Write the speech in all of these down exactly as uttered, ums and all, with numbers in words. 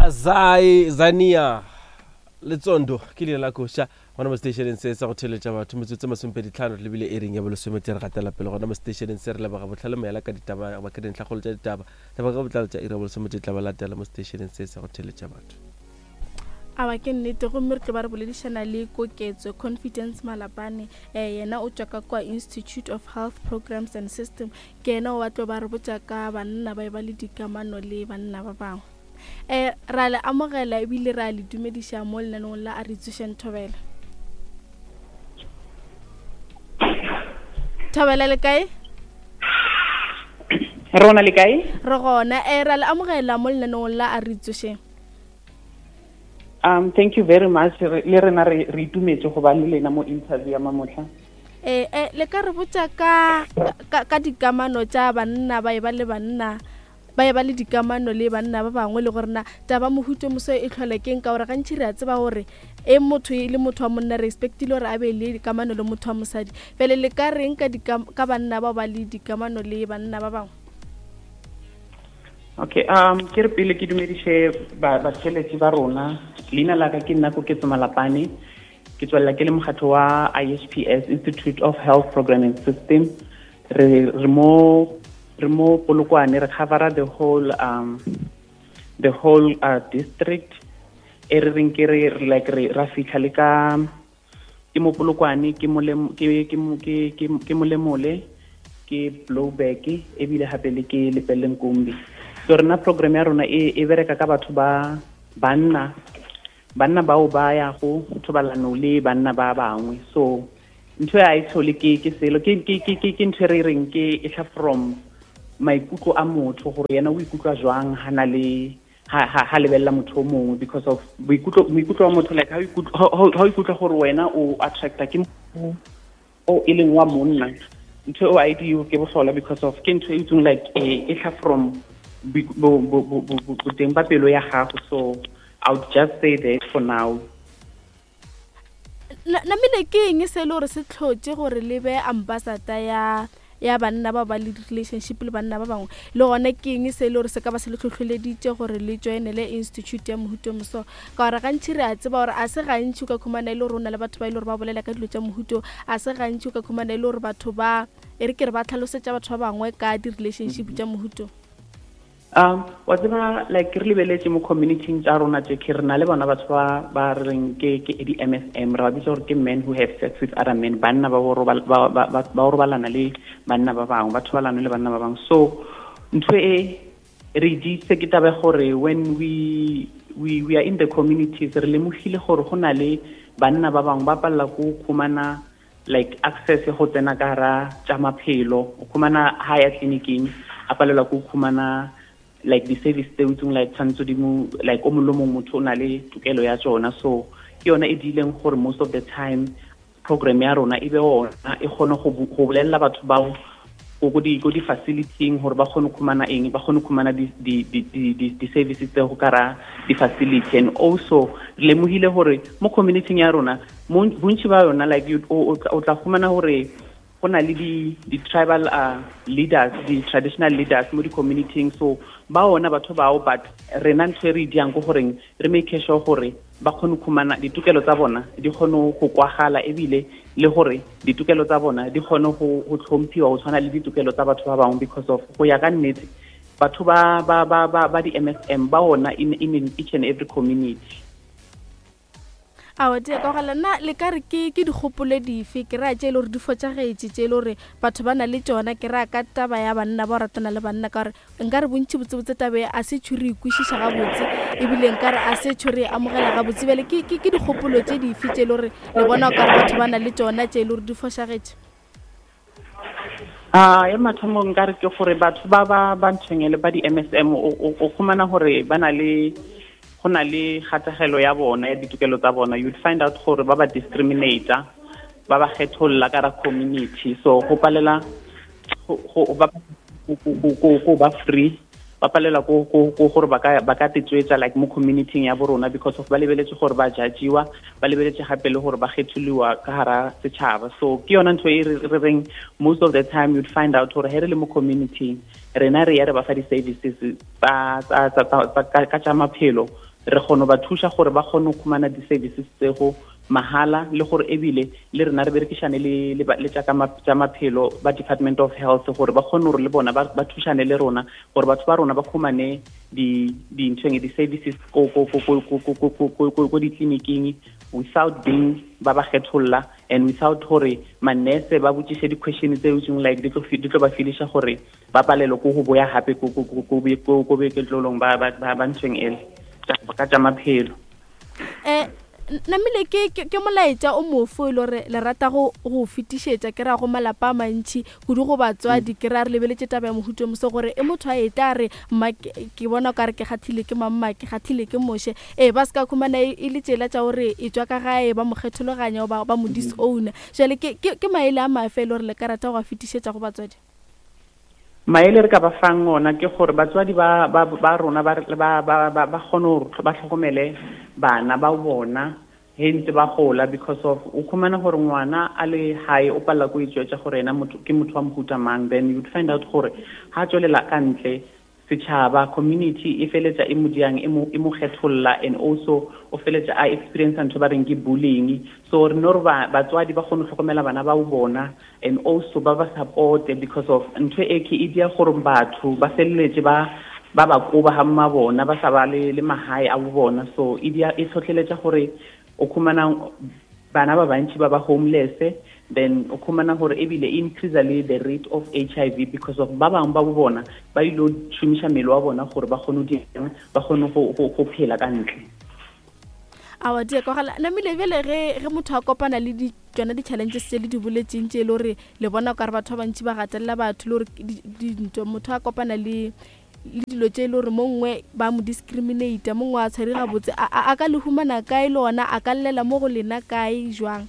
Zai Zania Letsondo ke leina la koša gona mo stationeng se sa go theletša batho metsotso masomepedi tlhano re lebile ering ya bolesomete re gatela pele gona mo stationeng se re leboga botlhale moyala ka ditaba goba ke dintlhakgolo tša ditaba taba ka botlalo tša iri ya bolesomete tla ba latela mo stationeng se sa go theletša batho. Awa ke nnete, gomme re tlo ba re boledišana le Koketso Confidence Malapane. um yena o tšwa ka kwa Institute of Health Programs and System. Ke yena o a tlo ba re botša ka banna ba e ba le dikamano le banna ba bangwe. um ra le amogela ebile ra le dumediša mo lenaneong la A Re Tsošeng Thobela. Thobela le kae? Rona le kae? Re gona. um ra le amogela mo lenaneong la A Re Tsošeng. Um thank you very much. Le rena re re itumetse go ba le lena mo interview ya mamotlha. Eh eh le ka re botša ka ka, ka dikamano tša banna ba e ba le banna ba e ba le dikamano le banna ba bangwe, le gore na taba mohuto moso e tlhole keng, ka gore gantši re a tseba gore e motho e le motho wa monna re expectile gore a be le kamano le motho wa mosadi. Bjale le ka reng ka ka banna bao ba le dikamano le banna ba bangwe? Okay, um ke re pele ke dumediše ba batheletši ba rona. Leina la ka ke nna Koketso Malapane. Ke tswelela ke le mokgatlo wa I H P S, Institute of Health Programming System. Re re mo re mo Polokwane, re covera the whole um the whole uh, district. E re reng ke re like re ra fitlha le ka ke mo Polokwane, ke mole ke ke ke ke molemole, ke Blowback, ebile hape le ke Lepelle Nkumbi. So rena program ya rona e e bereka ka batho ba banna banna bao ba ya go thobalano le banna ba bangwe. So ntho ya e tlhole ke ke selo ke ke ke ke ntho re reng ke e tla from maikutlo a motho gore yena o ikutlwa jwang ha na le ha ha ha lebella motho o mongwe, because of boikutlo boikutlo wa motho, like ha o ikutlwa ha o ikutlwa gore wena o attracta ke o e leng wa monna, ntho eo a e dio ke bohlola, because of ke ntho e itseng like e tla from boteng ba pelo ya gago. So I would just say that for now. Namile ke eng se le gore se tlhotse gore le be ambassador ya ya banna ba ba le relationship le banna ba bangwe, le gona ke eng se le gore se ka ba se le tlhotlholeditše gore le joinele institute ya mohuto moso? Ka gore gantši re a tseba gore a se gantši o ka khumana e le gore o na le batho ba e le gore ba bolela ka dilo tša mohuto, a se gantši o ka khumana e le gore batho ba e re ke re ba tlhalosetša batho ba bangwe ka di-relationship tša mohuto. Um wa tseba like re lebeletse mo community tsa rona tse ke re na le bona batho ba ba reng ke ke di M S M, re ba bitsa gore ke men who have sex with other men, banna ba ba ba ba robalana le banna ba bangwe, ba thobalana le banna ba bangwe. So ntho e re ditse ke taba gore when we we we are in the communities, re lemogile gore go na le banna ba bangwe ba palla go khumana like access go tsena ka ra tsa maphelo, o khumana ha ya tleliniking a palelwa go khumana like the service tse utsung like tshwanetse di mo like o mongwe motho o na le tokelo ya tsona. So ke yona e dileng gore most of the time program ya rona e be ona e kgone go go bolella batho bao go di go di facility gore ba kgone khumana eng, ba kgone khumana di di di di di services tse go kara di facility. And also re lemogile gore mo community ya rona bontši ba yona like you o tla khumana gore go na le di di tribal uh, leaders, di traditional leaders mo di community. So ba ona batho bao, but rena ntho e re diang go goreng re make sure gore ba kgone khumana ditokelo tsa bona di kgone go kwagala, ebile le gore ditokelo tsa bona di kgone go go tlhomphiwa go tshwana le ditokelo tsa batho ba bangwe, because of go ya ka nnete batho ba ba ba ba ba di M S M ba ona in in each and every community. Awa di ka gala na le ka re ke ke dikgopolo dife ke ra tše le gore di fotšagetše tše le gore batho ba na le tšona, ke ra ka taba ya banna ba ratana le banna, ka gore nka re bontši botsebotse taba a se tšho re ikwešiša gabotse, ebile nka re a se tšho re amogela gabotse. Bjale ke ke dikgopolo tše dife tše le gore le bona o ka re batho ba na le tšona tše le gore di fošagetše? Ah, ya mathomo nka re ke gore batho ba ba ba ntshwenyele ba di M S M o khumana gore ba na le go na le kgatagelo ya bona ya ditokelo tsa bona. You'd find out gore ba ba discriminator, ba ba kgetholla ka ra community. So go palela go ba go ba free, ba palela go go gore ba ka ba ka tetswetsa like mo community ya borona, because of ba lebeletse gore ba judgiwa, ba lebeletse gape le gore ba kgetholiwa ka hara setšhaba. So ke yona ntho e re reng most of the time you'd find out gore he re le mo community rena re ya re ba fa di-services tsa tsa tsa ka tsa maphelo, Re kgone ba thuša gore ba kgone go khumana di-services tsego mahala, le gore ebile le rena re berekishane le le tša ka tša maphelo ba Department of Health gore ba kgone gore le bona ba ba thušane le rona gore batho ba rona ba khumane di di-nthweng di-services ko ko ko ko ko ko ko ko ko ko ditleliniking without being ba ba kgetholla and without gore manese ba botšiše di-question tse itseng like di tlo di tlo ba feeliša gore ba palelwe ko go boya gape ko ko ko ko ko boeketlolong ba ba ba nthweng ele ka tša maphelo. Eh namile ke ke molaetša o mofo e le gore le rata go go fetišetša ke ra go malapa a mantši kudu go batswadi, ke ra re lebeletše taba ya mohuto moso gore e motho a eta re mma ke bona ka re ke kgathile ke mamma ke kgathile ke moshe, e ba se ka khumana e le tsela tša gore e tswa ka gae ba mo kgethologanya ba ba mo disowner. Jwale ke ke maele a mafe e le gore le ka rata go a fetišetša go batswadi? Maele re ka ba fang ona ke gore batswadi ba ba ba rona ba ba ba ba kgone gore ba tlhokomele bana ba bona he ntse ba gola, because of o khumana gore ngwana a le hae o palla ko itšwetša gore ena motho ke motho wa mohuta mang, then you'd find out gore ha tswelela ka ntle setšhaba community e feletša e mo diang e mo e mo kgetholla, and also o feletša a experience ntho ba reng ke bullying. So re no re batswadi ba kgone go tlhokomela bana ba bona and also ba ba support, because of ntho e ke e dia gore batho ba feleletse ba ba ba koba ha mma bona ba sa ba le le mahae a bona. So e dia e tlhotlheletša gore o khumana bana ba bantši ba ba homeless, then o khumana gore ebile increase le the rate of H I V because of ba bangwe ba bona ba ilo šomiša mmele wa bona gore ba kgone go ba kgone go go phela ka ntle. Awa di ka gala namile bjale ge ge motho a kopana le di tsona di-challenges tse le di boletseng tše e le gore le bona ka re batho ba bantši ba gatelela batho le gore dintho motho a kopana le le dilo tše e le gore mo nngwe ba mo discriminate, mo nngwe a tshware gabotse, a ka le humana kae le ona a ka llela mo go lena kae jwang?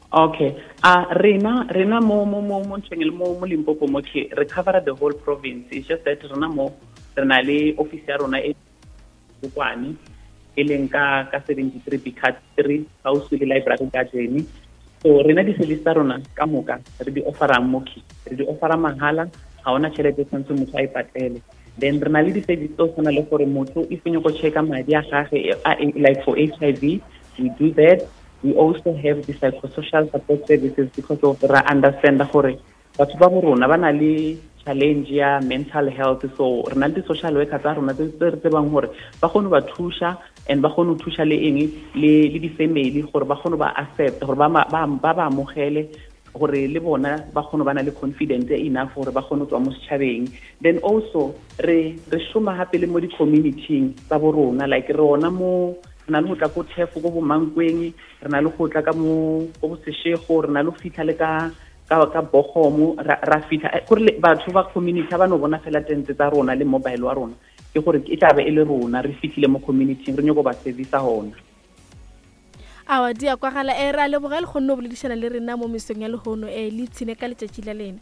Okay, ah uh, rena rena mo mo mo mo nthweng le mo mo Limpopo mo ke re cover the whole province. It's just that rena mo re na le office ya rona e Bokwane e leng ka ka seventy-three B cut three gaufi le library garden. So rena di-service tsa rona ka moka re di offerang mo ke re di offera mahala, ga ona tšhelete tshwanetse motho a e patele. Then re na le di-service tse o tshwana le gore motho if o nyako checka madi a gage like for H I V, we do that. We also have the psychosocial support services because of ra understand gore batho ba bo rona ba na le challenge ya mental health. So re na le di-social worker tsa rona tse re tsebang gore ba kgone ba thuša and ba kgone ho thuša le eng le le di-family gore ba kgone ba accept gore ba ba ba amogele gore le bona ba kgone ba na le confidence enough gore ba kgone go tswa mo setšhabeng. Then also re re šoma hape le mo di-community-ing tsa bo rona, like re ona mo re na le go tla ko Thefo ko bo Mankweng, re na le go tla ka mo ko Seshego, re na le go fitlha le ka ka ka Bogomo, ra fitlha gore batho ba community ba no bona fela tente tsa rona le mobile wa rona, ke gore e tla be e le rona re fitlhile mo community re nyako ba service hona. Awa di a kwagala e ra leboga le kgonne go boledišana le rena mo mesong ya lehono, e le ipshine ka letšatši la lena.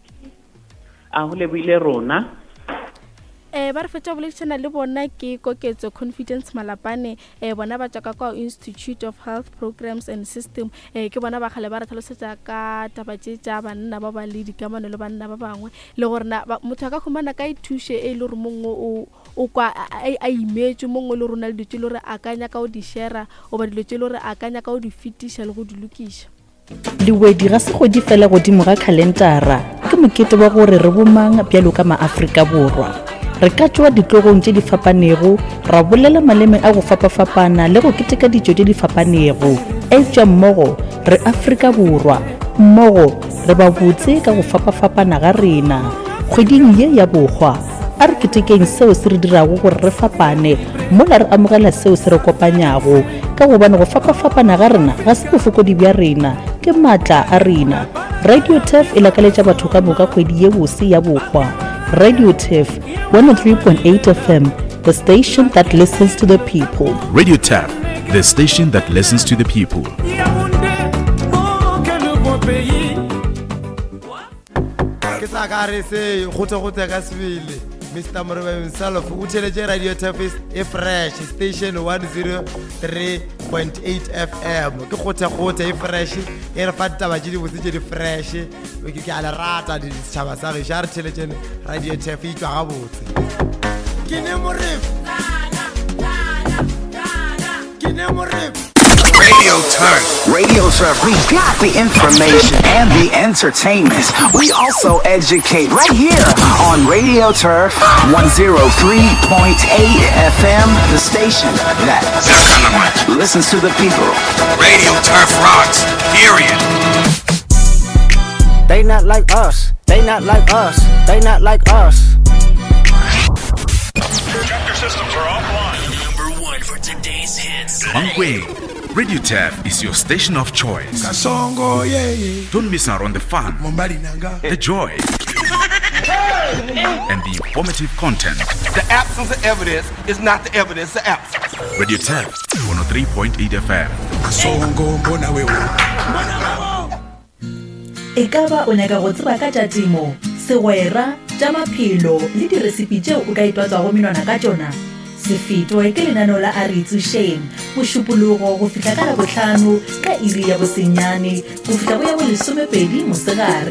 A go lebohile rona. Eh ba re fetša go boledišana le bona ke Koketso Confidence Malapane, eh bona ba tswa ka kwa Institute of Health Programs and System, eh ke bona ba kgale ba re tlhalosetša ka taba tše tša banna ba ba le dikamano le banna ba bangwe, le gore na motho a ka humana ka thuše e le gore mongwe o o kwa a imetše, mongwe le rona le dilo tše le gore a ka nyaka go di share goba dilo tše le gore a ka nyaka go di fetiša le go di lokiša. Lewedi ga se kgwedi fela godimo ga khalentara, ke mokete wa gore re bomang bjalo ka maAfrika Borwa. Re ka tšwa ditlogong tše di fapanego, ra bolela maleme a go fapafapana le go keteka ditšo tše di fapanego. Eupša mmogo re Afrika Borwa, mmogo re ba botse ka go fapafapana ga rena. Kgweding ye ya bohwa, a re ketekeng seo se re dirago gore re fapane, mola re amogela seo se re kopanyago, ka gobane go fapafapana ga rena ga se bofokodi bja rena, ke maatla a rena. Radio Turf e lakaletša batho ka moka kgwedi ye bose ya bohwa. Radio Turf one oh three point eight F M, the station that listens to the people. Radio Turf, the station that listens to the people. Ke sa ka re se go go ka sebele Mister Morebe himself o theletše Radio Turf e fresh station one oh three point eight F M ke gothe gothe e fresh e re fa ditaba tše di botse tše di fresh ke ke a le rata ditšhaba sa gešo a re theletšene Radio Turf e tšwa gabotse ke ne Morebe. Radio Turf. Radio Turf, we got the information and the entertainment. We also educate right here on Radio Turf one oh three point eight F M, the station that listens to the people. Radio Turf rocks, period. They not like us. They not like us. They not like us. Chapter systems are offline. Number one for today's hits. Bangwe, Radio Turf is your station of choice. Kasongo, yeah, yeah. Don't miss out on the fun, the joy, and the informative content. The absence of evidence is not the evidence of absence. Radio Turf, one oh three point eight F M. Kasongo, mbona wewe. E ka ba o nyaka go tseba ka tša temo, segwera, tša maphelo le diresipi tšeo o ka itwatswago menwana ka tšona? Se fetwe ke lenaneo la A Re Itsošeng, Mošupologo go fihla ka Labohlano ka iri ya bosenyane go fihla go ya bolesomepedi mosegare.